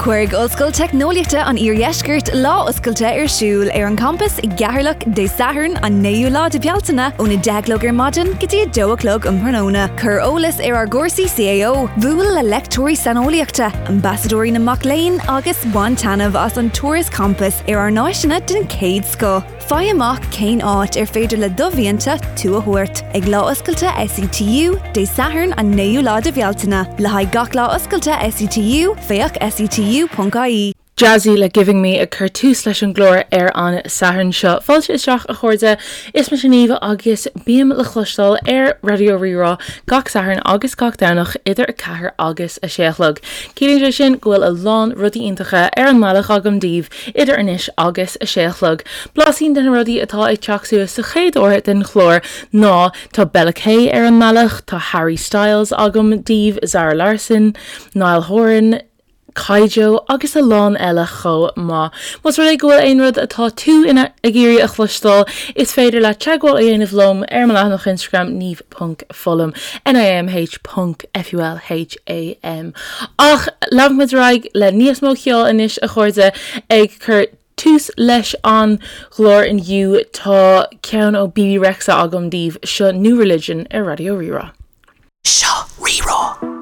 Cuirfidh Ollscoil Teicneolaíochta an Iardheiscirt lá oscailte ar siúl ar an gcampas i gCeatharlach Dé Sathairn an 9ú lá de Bhealtaine ón 10 a chlog ar maidin go dtí 2 a chlog um thráthnóna. Cuir eolas ar ár gcúrsaí CAO, buail le leicteoirí saineolaíochta, ambasadóirí na mac léinn agus bain taitneamh as an turas campais ar ár n-áiseanna den chéad scoth. Faigh amach cén áit ar féidir le do mhianta tú a thabhairt ag Lá Oscailte SETU, Dé Sathairn an 9ú lá de Bhealtaine. Le haghaidh gach Lá Oscailte SETU, féach setu.ie. Jazzy le Giving Me ag cur tús leis an gclár ar an Satharn seo. Fáilte isteach a chairde, is mise Niamh agus bím le cloisteáil ar Raidió Rí-Rá gach Satharn agus gach Domhnach idir 4 agus 6 a chlog. Ciallaíonn sé sin go bhfuil a lán rudaí iontacha ar an mbealach agam daoibh idir anois agus a sé a chlog. Blaisín de na rudaí atá ag teacht suas sa chéad uair den chlár ná tá Bella K ar an mbealach, tá Harry Styles agam daoibh, Zara Larsson, Niall Horan, Kygo agus a lán eile chomh maith. Más rud é go bhfuil aon rud atá tú ina ag iarraidh a chloisteáil, is féidir leat teagmháil a dhéanamh liom ar mo leathanach Instagram niamh ponc fulham, N-I-A-M-H ponc F-U-L-H-A-M. Ach leanfaidh muid ar aghaidh le níos mó ceoil anois a chairde, ag cur tús leis an gclár inniu tá ceann ó Bebe Rexha agam daoibh, seo New Religion ar Raidió Rí-Rá. Seo Rí-Rá.